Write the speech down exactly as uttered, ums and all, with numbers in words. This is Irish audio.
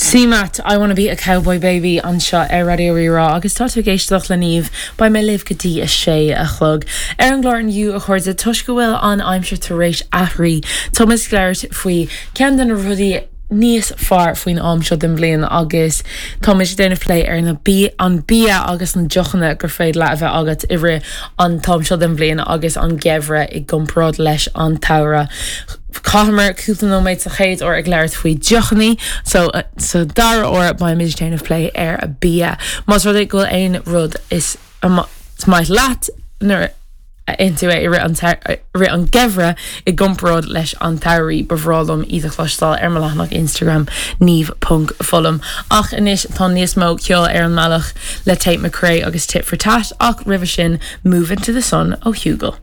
CMAT I wanna be a cowboy baby anseo ar Raidió Rí-Rá agus tá tú ag éisteacht le Niamh beidh mé libh go dtí a sé a chlog. Ar an gclár inniu a chairde toisc go bhfuil an aimsir tar éis athrú Tá muid ag labhairt faoi ceann de na rudaí níos fearr faoin am seo den bhliain agus tá muid ag déanamh plé ar na bí an bia agus na deochanna gur féidir leat a bheith agat i rith an t-am seo den bhliain agus an geimhreadh i gcomparáid leis an tsamhradh. Chaitheamar cúpla nóiméad sa chéad uair ag labhairt faoi deochanna so uh, sa dara huair beimid ag déanamh plé ar an bia. Más rud é go bhfuil aon rud is is maith leat nuair a itheann tú é i rith an geimhreadh i gcomparáid leis an tsamhradh ba bhreá liom iad a chloisteáil ar mo leathanach Instagram niamh.fullam. Ach anois tá níos mó ceoil ar an mbealach le Tate McRae agus Tit for Tat ach roimhe sin Move into the Sun ó Hugel.